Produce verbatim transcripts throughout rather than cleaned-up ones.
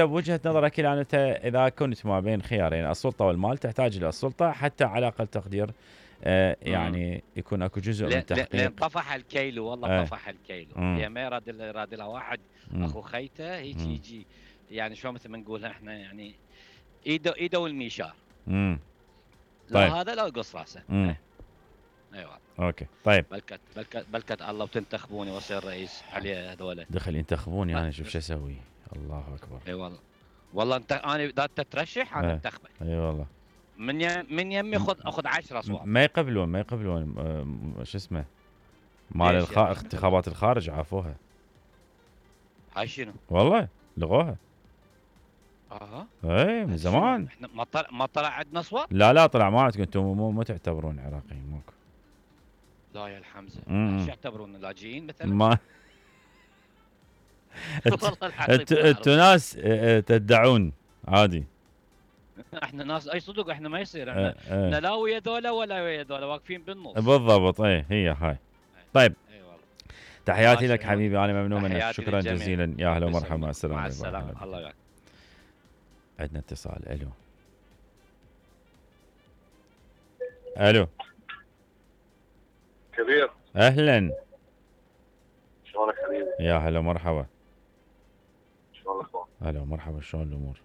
بوجهة نظرك الان انت اذا كنت ما بين خيارين السلطة والمال تحتاج الى السلطة حتى على اقل تقدير آه يعني يكون اكو جزء من تحقيق. لان طفح الكيلو والله. آه. طفح الكيلو هي ما يراد يراد لها واحد مم. اخو خيته هيك يجي يعني شو مثل ما نقول احنا يعني ايده ايده والميشار. امم طيب. لا هذا لا يقص راسه. ايوه ايوه اوكي طيب. بلكت بلكت بلكت الله وتنتخبوني واصير رئيس عليه هذول. دخل ينتخبوني انا شوف شو اسوي. الله اكبر. اي والله والله انت انا اذا انت ترشح انا انتخبك. اي والله من يم من يمي خذ اخذ عشرة اصوات. ما يقبلون ما يقبلون شو اسمه مال الخ... انتخابات الخارج عافوها. هاي شنو؟ والله لغوها. اها اي من زمان. احنا ما طلع ما طلع عندنا اصوات؟ لا لا طلع ما عندكم انتم مو مو تعتبرون عراقيين ماكو. لا يا الحمزه ايش يعتبرون لاجئين مثلا؟ ما انتوا ناس تدعون عادي. احنا ناس اي صدق احنا ما يصير احنا اه اه. لا ويا ذولا ولا ويا ذولا واقفين بالنص. بالضبط اي هي هاي. طيب اي والله تحياتي لك حبيبي انا ممنون منك شكرا جزيلا يا اهلا ومرحبا مع السلامه. مع السلامه الله يعافيك. عندنا اتصال. الو الو كبير اهلا شلونك حبيبي؟ يا هلا مرحبا. شلون الاخبار؟ هلا مرحبا شلون الامور؟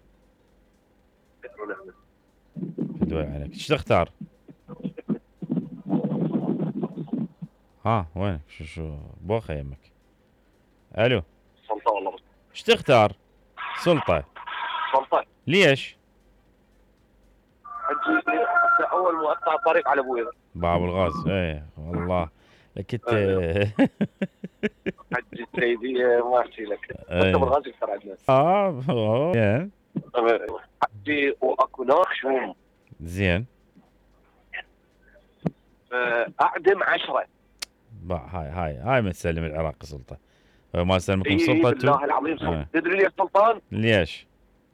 فدوي عليك. ايش تختار؟ ها وين شو شو بوخه يمك. الو سلطه والله. ايش تختار؟ سلطه. سلطه. ليش؟ حجي اول مقطع الطريق على ابوي باب الغاز. ايه والله لك انت حجي السيديه ما احكي لك. انت بالغاز اكثر عندنا. اه حجي واكو ناخشهم. زين. اعدم عشرة. هاي هاي هاي ما تسلم العراق سلطه. ما سلمكم إيه سلطه. بالله العظيم آه. تدري ليش سلطان؟ ليش؟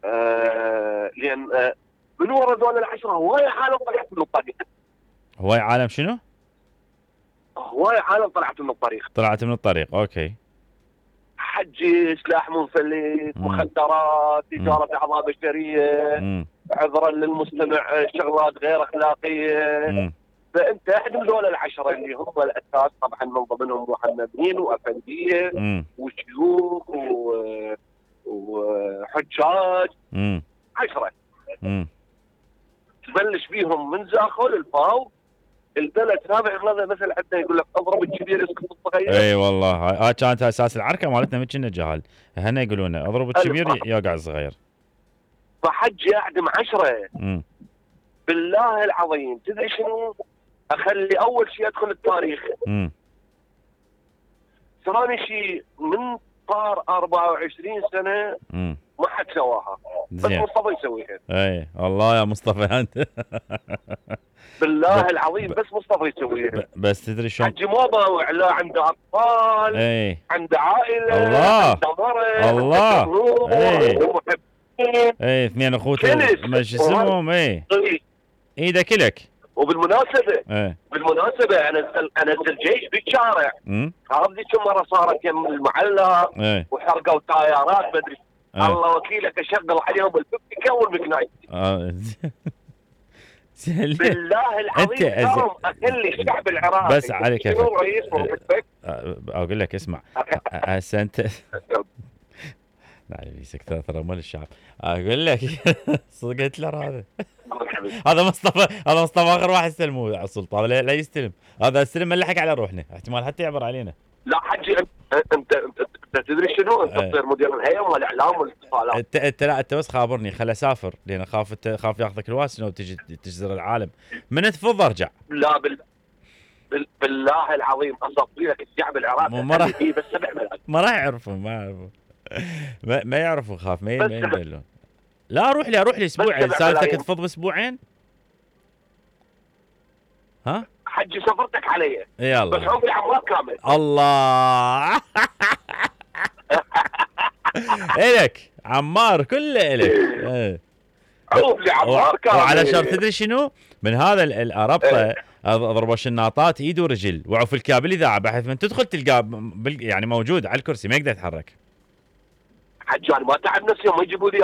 آه لان آه من ورا ذول العشره هواي عالم طلعت من الطريق. هواي عالم شنو؟ هواي عالم طلعت من الطريق. طلعت من الطريق اوكي. حجي سلاح منفلت مخدرات تجاره اعضاء بشريه عذرا للمستمع شغلات غير اخلاقيه. مم. فانت احد من ذول العشره اللي هم الاساس طبعا من ضمنهم محمدين وافنديه وشيوخ و... وحجاج. امم عشره. امم تبلش بيهم من زاخو للفاو البلد سابع غلظه مثل عندنا يقول لك اضرب الكبير يسكت الصغير. اي والله هاي كانت اساس العركه مالتنا من كنا جهال هنا يقولون اضرب الكبير يوقع الصغير. فحجي اعدم عشره. امم بالله العظيم تدري شنو؟ اخلي اول شيء ادخل التاريخ. امم ثاني شيء من صار أربعة وعشرين سنه امم ما حد سواها بس مصطفى يسويها. اي الله يا مصطفى انت بالله العظيم بس مصطفى يسويها. بس تدري شلون؟ حجي ما باوع لا عنده اطفال اي عنده عائله الله عنده مرض الله اي ومحبين اي اثنين اخوته ما شو اسمهم اي ايده كلك. وبالمناسبه ايه بالمناسبه انا انزل جيش بالشارع. امم هذه كم مره صارت يم المعلق ايه وحرقوا تايرات ما ادري. ايه. الله وكيلك اشغل عليهم البكه والمكنايت. اه بالله العظيم اليوم اخلي الشعب العراقي بس عليك يا شنو رئيس محبك؟ اقول لك اسمع هسه انت لا سكتة ترى مال الشعب. اقول لك صدق هتلر هذا هذا مصطفى هذا مصطفى اخر واحد استلموه على السلطه لا, لا يستلم. هذا استلم ملحق على روحنا احتمال حتى يعبر علينا. لا حجي انت انت, انت تدري شنو؟ انت تصير مدير الهيئه مال الاعلام والاتصالات. انت انت لا انت بس خابرني خل اسافر لان اخاف خاف ياخذك الواسنه وتجي تجزر العالم من تفض ارجع. لا بال بالله العظيم اصفي لك الشعب العراقي ما راح فيه بس سبع ملايين. ما راح يعرفون ما يعرفون ما, ما يعرفوا خاف ما يندلون. لا روح لي اروح لي اسبوعين سالتك تفض باسبوعين. ها حجي سفرتك علي يلا بس عمري عمار كامل. الله الك عمار كله الك. ايه عمري عمار كامل. وعلى شرط تدري شنو من هذا الربطه اضرب الشناطات ايد ورجل وعوف الكابل اذاعه بحيث من تدخل تلقاه يعني موجود على الكرسي ما يقدر يتحرك. حجي انا ما تعب نفسي يوم يجيبوا لي